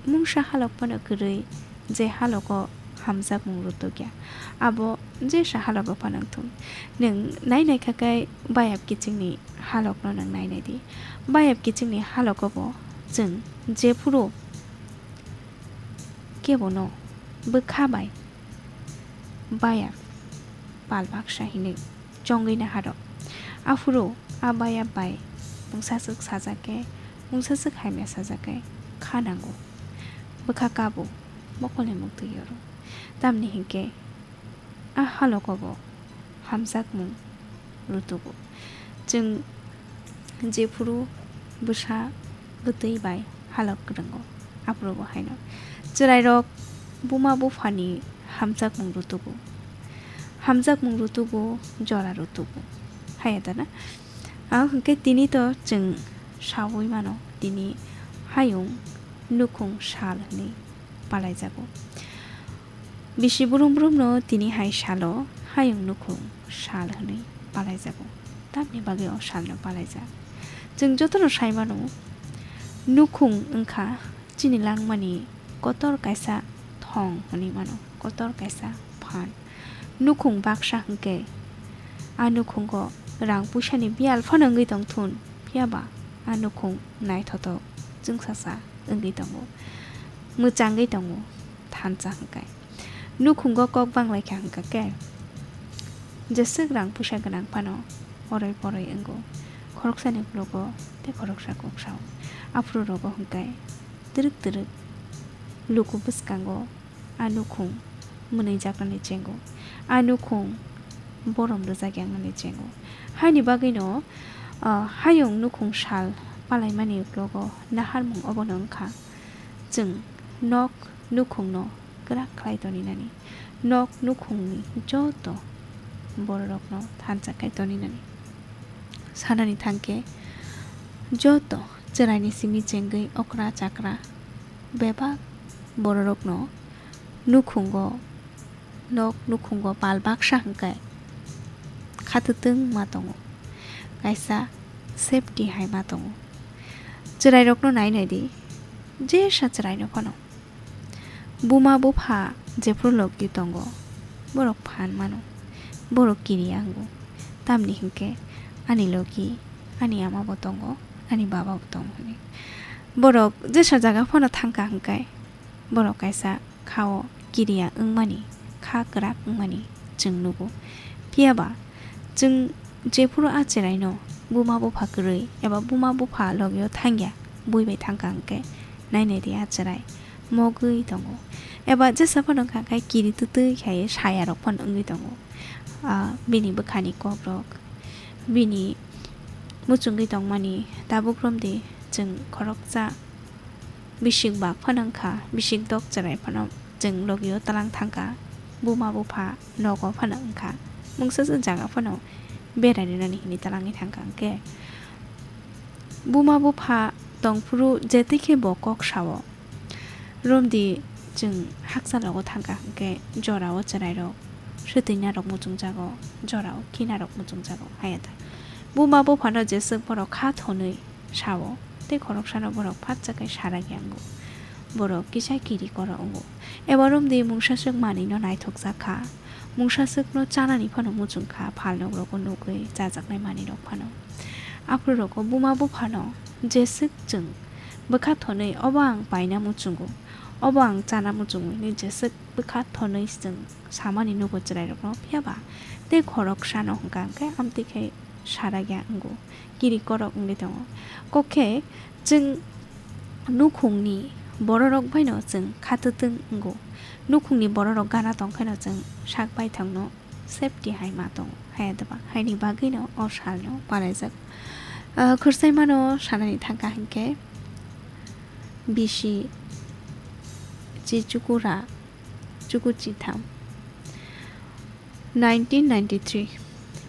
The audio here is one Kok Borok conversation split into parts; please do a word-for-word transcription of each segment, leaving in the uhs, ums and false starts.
Mungsa halok phano kwrwi, je halogo hamjakmung rutukya, abo jesa halogo phano wngthung. Nwng nai nai kha khe bayap kichingni halokno nwng nai nai di. Bayap kichingni halogo bo chwng jephuru kebono bwkha bai bayap pal baksa hinwi chongwi naharok. Aphuru a bayap bai mungsaswk sajak khe, mungsaswk hamya sajak khe kha nango. Bwkha kabo, mokolni muktwi yoro. Tamni hinkhe a halogo bo hamjakmung rutugo. Chwng jephuru bwsa bwtwi bai halok kwrwngo, aphuru bo haino chwrairok buma buphani hamjakmung rutugo. Hamjakmung rutugo, jora rutugo. Haya dana? Ang hwnkhe tini to chwng saui mano, tini hayung nukhung sal hwnwi palaijago. Bisi brum brumno tini hai salo hayung nukhung sal hwnwi palaijago. Tamni bagwi o salno palaijak? Chwng jotono sai mano, nukhung wngkha chini langmani kotor kaisa thong hwnwi mano, kotor kaisa phan. Nukhung baksa hwnkhe a nukhungo rang puisani biyal phano wngwi tongthun, phiyaba a nukhung naithotok chwngsasa wngwi tongo, mwchangwi tongo thansa hwnkhe. Nukhungo kok banglaikha hwnkha khe, jeswk rang puisa gwnang phano oroi poroi wngo, khoroksani uklogo tei khoroksa kok sao. Aphuru rogo hwnkhe twrwk twrwk luku bwskango a nukhung mwnwijaknani chengo, a nukhung borom rwjak yangnani chengo. Haini bagwino, ah, hayung nukhung sal palaimani uklogo naharmung obono wngkha chwng nok nukhungno kwrak khlai toninani, nok nukhungni joto bororokno thansa khai toninani. Sanani thangkhe joto chwraini simi chengwi okra chakra bebak bororokno nukhungo, nok nukhungo pal baksa hwnkhe khatwtwng ma tongo, kaisa safety hai ma tongo. Chwrairokno nai nai di, jesa chwraino phano. Buma bupha jephuru logi tongo, borok phan mano, borok kiriya wngo, tamni hinkhe ani logi, ani ama bo tongo, ani baba bo tongo hwnwi. Borok jesa jaga phano thangkha hwnkhe, borok kaisa khao kiriya wngmani, kha kwrak wngmani chwng nugo. Phiyaba chwng jephuru a chwraino buma bupha kwrwi eba buma bupha logio thangya, bui bai thangkha hwnkhe, nai nai di a chwrai mogwi tongo. Eba jesa phano wngkha khe kiri twtwi khai sayarok phano wngwi tongo. Ah, bini bwkhani kokrok, bini muchungwi tongmani tabuk romdi chwng khoroksa bisik bak phano wngkha, bisik dok chwrai phano chwng logio tlang thangkha, buma bupha nogo phano wngkha, mungsasa jaga phano berai rinani hinwi tlangwi thangkha. Hwnkhe buma bupha tongphuru jetikhe bo kok sao, romdi chwng hakcha logo thangkha hwnkhe jorao chwrairok swtwinarok muchungjago, jorao kinarok muchungjago, haya da? Buma buphano jeswk borok kha thonwi sao, tei khoroksano borok phatsa khe sarak yango. Borok kisa kiri koro wngo. Eba romdi mungsaswk manwino naithokjak kha. Mungsaswkno chanani phano muchung kha, phalnogrogo nugwi chajaknai manwirok phano. Aphuru rogo buma buphano jeswk chwng bwkha thonwi obo ang paina muchungo, obo ang chana muchungo hinwi jeswk bwkha thonwi chwng samani nugo chwrairokno, phiyaba tei khoroksano hwnkha hwnkhe amtwi khe sarak ya wngo, kiri korok wngwi tongo. Kok khe chwng nukhungni bororok baino chwng khatwtwng wngo, nukhungni bororok gana tongkhaino chwng sak baithangno safety hai ma tongo, haya deba? Haini bagwino o salno palaijak. Ah, khursaimano sanani thangkha hwnkhe bisi chi chukura chuku chitham. Nineteen ninety-three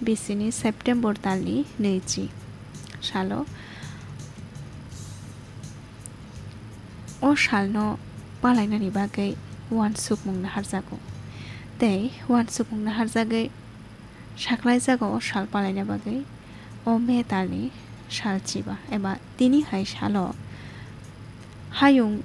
bisini September talni nwichi salo o salno palainani bagwi uansukmung naharjago. Tei uansukmung naharjagwi saklaijago o sal palaina bagwi o May talni sal chiba eba tini hai salo hayung